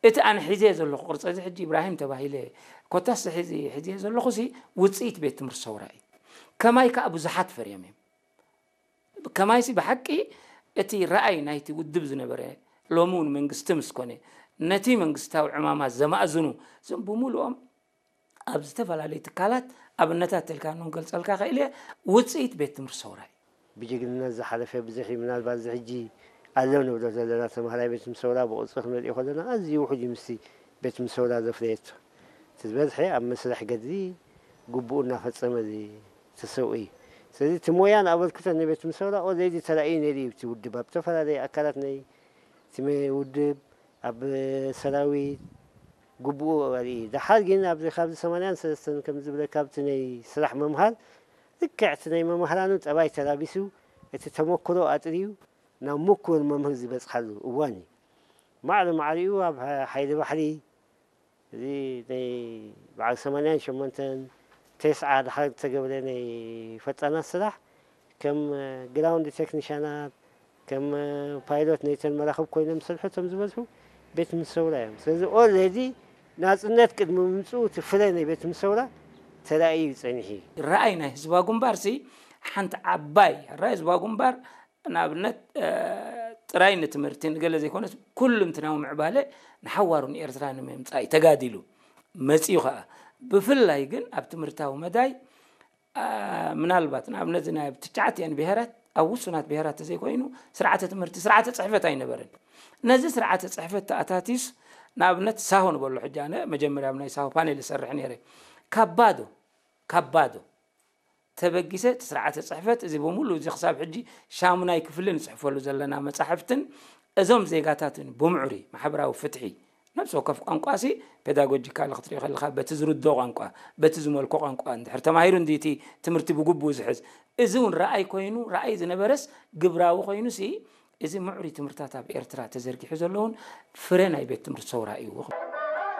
እቲ ኣነ ሒዘ ዘለኹ ቅርፂ እዚ ሕጂ ኢብራሂም ተባሂለ ኮታስ ሕዚ ሒዘ ዘለኹ ሲ ውፅኢት ቤት ትምህርቲ ሰውራ እዩ። ከማይ ከዓ ብዙሓት ፈርዮም እዮም። ከማይሲ ብሓቂ እቲ ረኣይ ናይቲ ውድብ ዝነበረ ሎሚ እውን መንግስቲ ምስ ኮነ ነቲ መንግስታዊ ዕማማት ዘማእዝኑ እዞም ብምሉኦም ኣብ ዝተፈላለዩ ትካላት ኣብነታት ተልካ ንገልፀልካ ክእል እየ። ውፅኢት ቤት ትምህርቲ ሰውራ እዩ። ብጅግንነት ዝሓለፈ ብዙሕ እዩ። ምናልባት እዚ ሕጂ ኣሎ ንብሎ ዘለና ተምሃራይ ቤት ትምህርቲ ሰውራ ብቕርፂ ክንሪኦ ከለና ኣዝዩ ውሑድ እዩ ምስቲ ቤት ትምህርቲ ሰውራ ዘፍረየቶ። እቲ ዝበዝሐ ኣብ መስርሕ ገድሊ ግቡኡ እናፈፀመ ተሰውኡ እዩ። ስለዚ እቲ ሞያን ኣበርክቶን ናይ ቤት ትምህርቲ ሰውራ ኦልሬዲ ተራእዩ ነይሩ እዩ። እቲ ውድብ ኣብ ዝተፈላለዩ ኣካላት ናይ እቲ መ- ውድብ ኣብ ሰራዊት ግቡኡ ኣርኢ። ደሓር ግን ኣብዚ ካብዚ ሰማንያን ሰለስተን ከም ዝብለካ ኣብቲ ናይ ስራሕ ምምሃር ልክዕ እቲ ናይ መምህራኑ ጠባይ ተላቢሱ እቲ ተመክሮ ኣጥርዩ ናብ ምኩር መምህር ዝበፅሓሉ እዋን እዩ። ማዕረ ማዕሪኡ ኣብ ሓይሊ ባሕሪ እዚ ናይ በዓል ሰማንያን ሸሞንተን ተስዓ ደሓር ዝተገብረ ናይ ፈጣናት ስራሕ ከም ግራውንድ ቴክኒሻናት ከም ፓይሎት ናይተን መራኽብ ኮይኖም ዝሰርሑ እቶም ዝበዝሑ ቤት ትምህርቲ ሰውራ እዮም። ስለዚ ኦልሬዲ ናፅነት ቅድሚ ምምፅኡ እቲ ፍረ ናይ ቤት ትምህርቲ ሰውራ ተራእዩ እዩ ፀኒሑ እዩ። ራእይ ናይ ህዝባዊ ግንባር ሲ ሓንቲ ዓባይ ራእይ ህዝባዊ ግንባር ንኣብነት ጥራይ ንትምህርቲ ንገለ ዘይኮነስ ኩሉምትናዊ ምዕባለ ንሓዋሩ ንኤርትራ ንምምፃእ እዩ ተጋዲሉ መፂኡ ከዓ። ብፍላይ ግን ኣብ ትምህርታዊ መዳይ ምናልባት ንኣብነት ናይ ትሽዓቲኣን ብሄራት ኣብ ውሱናት ብሄራት ተዘይኮይኑ ስርዓተ ትምህርቲ ስርዓተ ፅሕፈት ኣይነበረን። ነዚ ስርዓተ ፅሕፈት ተኣታቲስ ንኣብነት ሳሆ ንበሎ ሕጂ ኣነ መጀመርያ ኣብ ናይ ሳሆ ፓኔል ይሰርሕ ነይረ። ካብ ባዶ ካብ ባዶ ተበጊሰ እቲ ስርዓተ ፅሕፈት እዚ ብምሉ እዚ ክሳብ ሕጂ ሻሙናይ ክፍሊ ንፅሕፈሉ ዘለና መፃሕፍትን እዞም ዜጋታትን ብምዕሩይ ማሕበራዊ ፍትሒ ነብሲ ወከፍ ቋንቋ ሲ ፔዳጎጂካል ክትሪኦ ከለካ በቲ ዝርዶ ቋንቋ በቲ ዝመልኮ ቋንቋ እንድሕር ተማሂሩ እንዲ እቲ ትምህርቲ ብግቡእ ዝሕዝ እዚ እውን ረኣይ ኮይኑ ረኣይ ዝነበረስ ግብራዊ ኮይኑ ሲ እዚ ምዕሩይ ትምህርታት ኣብ ኤርትራ ተዘርጊሑ ዘለውን ፍረ ናይ ቤት ትምህርቲ ሰውራ እዩ።